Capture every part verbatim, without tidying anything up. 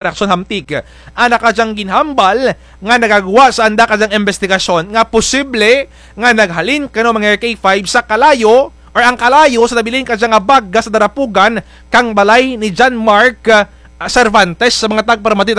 Action Hamtig. Ana ka dyang ginhambal nga nagagwa sa anda ka dyang investigasyon nga posible nga naghalin kano mga K five sa kalayo or ang kalayo sa nabilin ka dyang nga baga sa darapugan kang balay ni John Mark, ah, Cervantes sa mga tagparamati.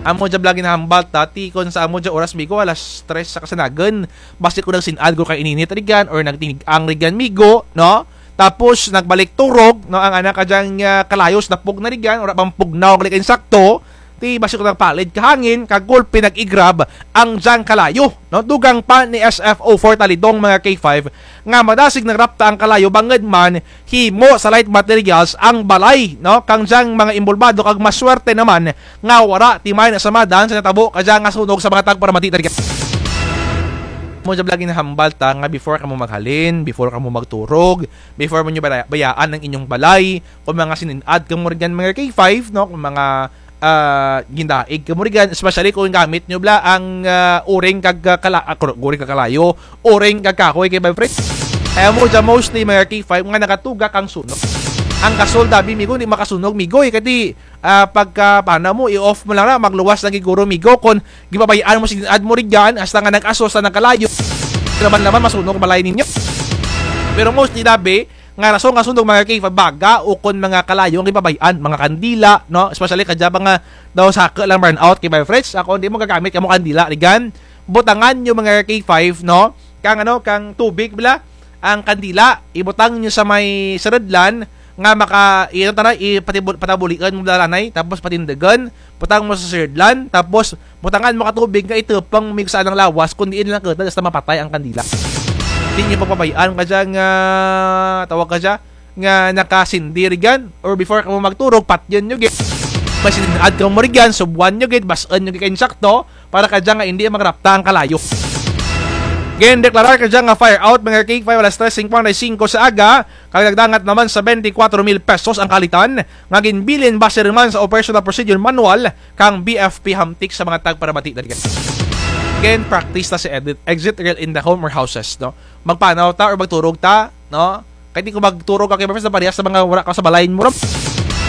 Amo dya bala ginhambal ta, ti kon sa amo dya oras, migo, alas tres sa kasanagan, basi ko nagsin-ad ko kay ininit rigan or nagtinig-ang rigan, migo, no? Tapos nagbalik turog, no, ang anak ka dyang, ah, kalayo sa dapog na rigan, ora bang pugnaw ang likin sakto, ti basi ko nagpalid ka hangin, kag gulpi nag-igrab ang dyang kalayo, no? Dugang pa ni S F O four Talidong, mga K five, nga madasig nagrapta ang kalayo bangod man himo sa light materials ang balay, no? Kang dyang mga imbolbado kag maswerte naman nga wala ti may nasamadan sa natabo ka dyang nga sunog sa mga tagparamati. Mo jab lagi nahambal ta nga before kamo maghalin, before kamo magturog, before mo nyo bala-, bayaan ang inyong balay, kung mga sin-ad kamo rigan mga K five, no? Kung mga, ah, gindaig kamo rigan, especially kung gamit nyo bala ang, ah, uring kag, ah, kala-, ah, kuro-, uring kag kalayo, uring kag kahoy kay Boyfriend. Kaya mo dyan mostly mga K five nga nakatuga kang sunog. Ang gasol dabi, migo, di makasunog, migo, eh, kadi, ah, pagka, paano mo, i-off mo lang na, magluwas lang giguro, migo, kung gibabayaan mo, sin-ad mo rigan, hasta nga nag-aso sa nagkalayo, laman-laman, masunog balay ninyo. Pero mostly dabi, nga rason nga sunog mga K five, baga o kon mga kalayo ang gibabay-an, mga kandila, no? Especially kadya ba nga daw saka lang brownout kay Boyfriends. Ako, hindi mo gagamit kamo kandila, rigan. Butangan nyo mga K five, no? Kang ano, kang tubig bala, ang kandila, ibutang nyo sa may saradlan nga maka, ito tara, ipatibul-, patabulian mo dalanay, tapos patindagan, butang mo sa saradlan, tapos butangan mo ka tubig nga itupang mo sa anang lawas, kung diin lang kita, basta mapatay ang kandila. Di nyo pagpabay-an ka dyan nga, tawag ka dyan, nga nakasindi rigan, or before ka mo magturog, patyon nyo gid. Masin-ad ka mo rigan, subuan nyo gid, bas-an nyo gid kay insakto, para ka dyan nga hindi magrapta ang kalayo. Again, deklarar ka dyan nga fire out, mga K five, alas tres cincuenta y cinco sa aga, kag nagdangat naman sa twenty-four mil pesos ang kalitan, nga ginbilin base naman sa Operational Procedure Manual kang B F P Hamtik sa mga tagparamati. Again, practice ta sa edit, exit real in the home or houses, no? Magpanaw ta or magturog ta, no? Kay di ko magturog ka kay Boyfriends na parehas sa mga wala ka sa balay mo ram.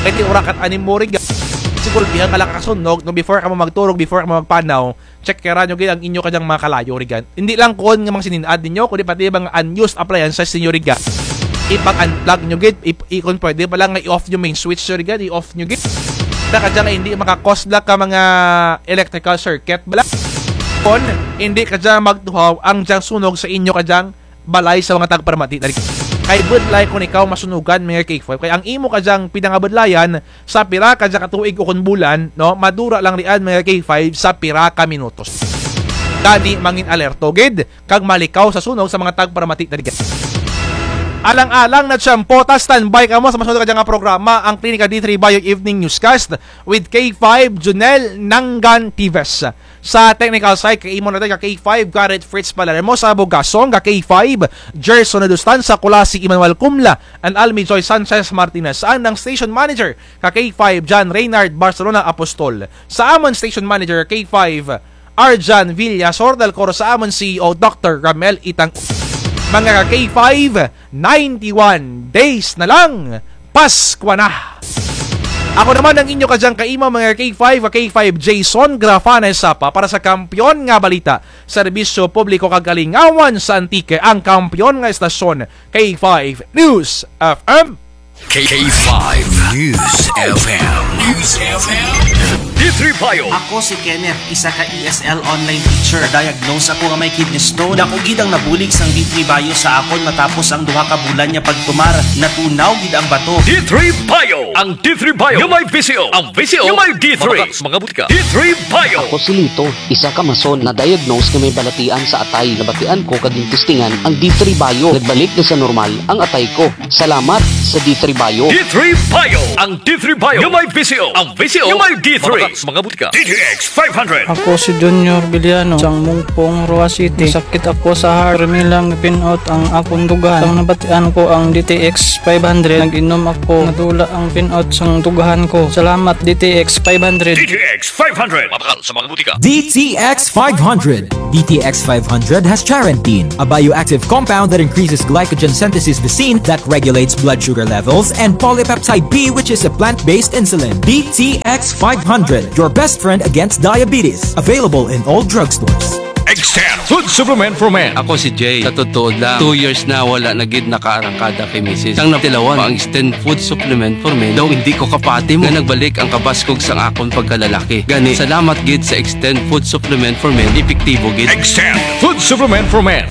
Kay di ura kat anim mo riga. Siguro bihan ka lang kasunog, no? Before ka mo magturog, before ka mo magpanaw, check kaya nyo gid ang inyo kanyang mga kalayo rigan. Hindi lang kuon nga mga sininad ninyo, kundi pati mga unused appliances ninyo rigan. Ipag-unplug nyo gid, ip-, i-, kung pwede pala nga i-off nyo main switch nyo rigan, i-off nyo gid. Sa kadya nga hindi makakos bala ka mga electrical circuit bala. Kon hindi kadya magtuhaw ang dyang sunog sa inyo kadyang balay sa mga tagparamati. Kay budlay kung ikaw masunugan, mga K five, kay ang imo kadyang pinangabudlayan sa pira ka dya ka tuig o kon bulan, no, madura lang rian, mga K five, sa pira ka minutos. Gani, mangin alerto gid kag malikaw sa sunog sa mga tagparamati. Alang-alang na tiyempo ta, standby kamo sa masunod ka dya nga programa, ang Klinika D three Bio Evening Newscast with K five Junel Nanggan Tives. Sa technical side, kay imo natin ka K five, Garrett Fritz Palermo, sa Bugasong ka K five, Gerson Nadustan, sa Culasi, Emmanuel Cumla, and Almi Joy Sanchez Martinez. Sa ang station manager ka K five, John Reynard Barcelona Apostol. Sa amon station manager ka K five, Arjan Villasor, dalkor sa amon C E O, Doctor Ramel Itang. Mga ka K five, ninety-one days na lang, Paskwa na! Ako naman ang inyo kadyang kaima, mga K five, K five Jason Grafane Sapa para sa Kampiyon nga Balita, Serbisyo Publiko kag Kalingawan sa Antique, ang kampiyon nga estasyon, K five News F M. K five News F M. News F M. D three Bio. Ako si Kenneth, isa ka E S L online teacher. Diagnose ako nga may kidney stone. Dako gid ang nabulig sang D three Bio sa akon matapos ang duha ka bulan nga pagtumar. Natunaw gid ang bato. D three Bio. Ang D three Bio nga may V C O. Ang V C O nga may D three. Mga butika. D three Bio. Ako si Lito, isa ka mason na diagnose nga may balatian sa atay. Nabatian ko kag gintistingan ang D three Bio. Nagbalik na sa normal ang atay ko. Salamat sa D three Bio. D three Bio. Ang D three Bio nga may V C O. Ang V C O nga may D three. Mga butika. D T X five hundred. Ako si Junior Villano, sang Mungpong, Roa City. Sakit ako sa heart. Permi lang pin-out ang akong dughan. Sang nabatian ko ang D T X five hundred, nag-inom ako. Nadula ang pin-out sang dughan ko. Salamat, D T X five hundred. D T X five hundred. Mabakal sa mga butika. D T X five hundred. D T X five hundred has charantine, a bioactive compound that increases glycogen synthesis, lysine, that regulates blood sugar levels, and polypeptide B, which is a plant-based insulin. D T X five hundred, your best friend against diabetes. Available in all drugstores. Extend food supplement for men. Ako si Jay. Sa totoo lang, two years na wala na gid nakaarangkada kay misis. Sang natilawan ang Extend Food Supplement for Men, daw hindi ko kapati mo nga nagbalik ang kabaskog sang akon pagkalalaki. Gani, salamat gid sa Extend Food Supplement for Men, epektibo gid. Extend food supplement for men.